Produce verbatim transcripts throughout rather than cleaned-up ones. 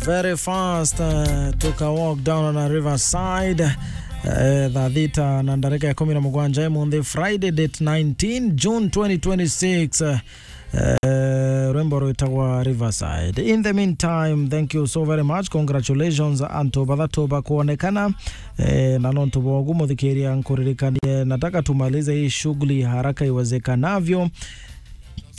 Very fast, uh, took a walk down on a riverside. Uh, thaa thita na ndarika ya kumi na mugwanja imunthi, Friday, date nineteen June twenty twenty-six. Uh, uh, rwimbo rwitagwa Riverside. In the meantime, thank you so very much. Congratulations antu bathatu bakwonekana. Eh, na nontu bogu, muthikiria, nkuririkanie, nataka tumalize hii shughuli haraka iwezekanavyo.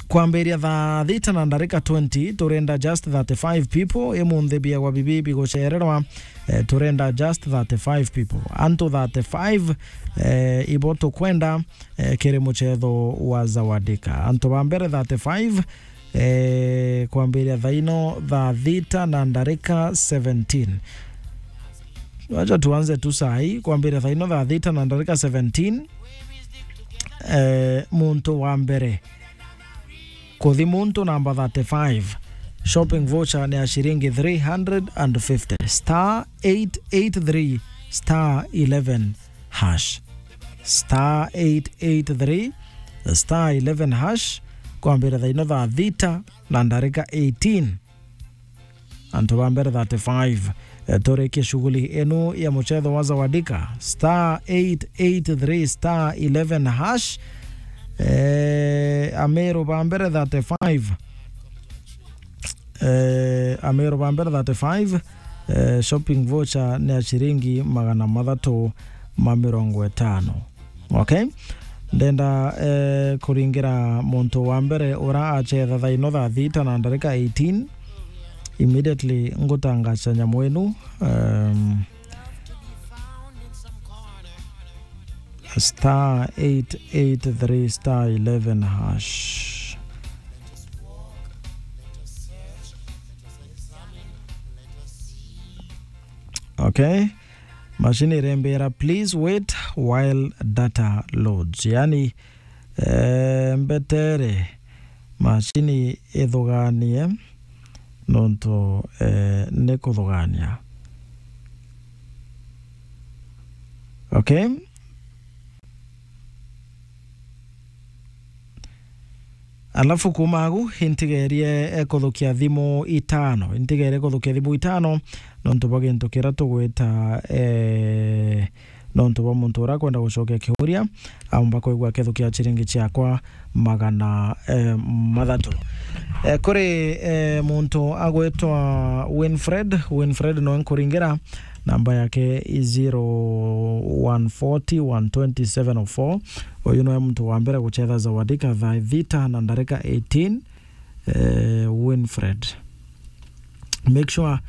Kwambiria thaa thita na ndarika twenty, turenda just thirty-five people. Imunthi biagwa bibi bigucererwa, eh, turenda just thirty-five people. Antu thirty-five, eh, ibo tukwenda, eh, kiri mucetho wa Zawadika. Antu ba mbere thirty-five, eh, kwambiria thaa ino thaa thita na ndarika seventeen. Wacha tuanze tu saa hii, kwambiria thaa ino thaa thita na ndarika seventeen. Eh, muntu wa mbere kuthi muntu namba thirty-five, shopping voucher ni ya shilingi three hundred and fifty, star eight eight three star eleven hash, star eight eight three star eleven hash, kwambira thaa ino thaa thita na ndarika eighteen. Antu ba mbere thirty-five, eh, turikie shughuli inu ya mucetho wa Zawadika, star eight eight three star eleven hash. Eh, Ameru ba mbere thirty-five. Eh, Ameru ba mbere thirty-five, eh, shopping voucher ni ya shilingi magana mathatu ma mirongo itano. Okay? Ndenda, eh, kuringira muntu wa mbere ura acetha thaa ino thaa thita na ndarika eighteen. Immediately ngutangaca nyamu inu, um, star eight eight three star eleven hash. Okay. Machine irembera, "Please wait while data loads." Yani, eh, mbetere machine ithuganie nontu, eh, ni kuthugania. Okay? Alafu kuuma agu, intigerie, eh, kuthukia thimu itano. Intigerie kuthukia thimu itano, nontu bwa gintu kiria tugwita, eh, nontu bwa muntu uria akwenda gucokia kiuria, aumba kwigua akithukia chiringi ciakwa magana, eh, mathatu. Eh, kuri, eh, muntu agwitwa Winfred. Winfred noe nkuringira, namba yake i zero one forty, one twenty, seven oh four. Uyu niwe muntu wa mbere gucetha Zawadika thaa thita na ndarika eighteen, eh, Winfred. Make sure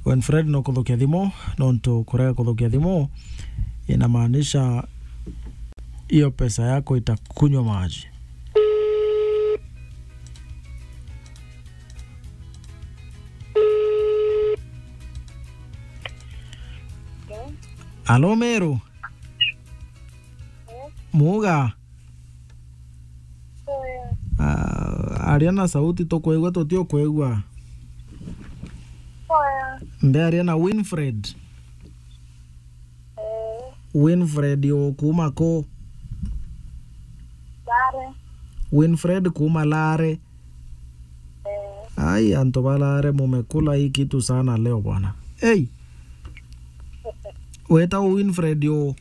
Winfred no kuthukia thimu, nontu kurega kuthukia thimu inamaanisha hiyo pesa yako itakunywa maji. Alo, Meru. Muga. Ah, aria na sauti, tukwigua tutiukwigua. Ndearia na Winfred. Winfred u kuma ku? Winfred kuma Lare. Ai, antu ba Lare mumekula hii kitu sana leo bwana. Ei. Weta Winfred u?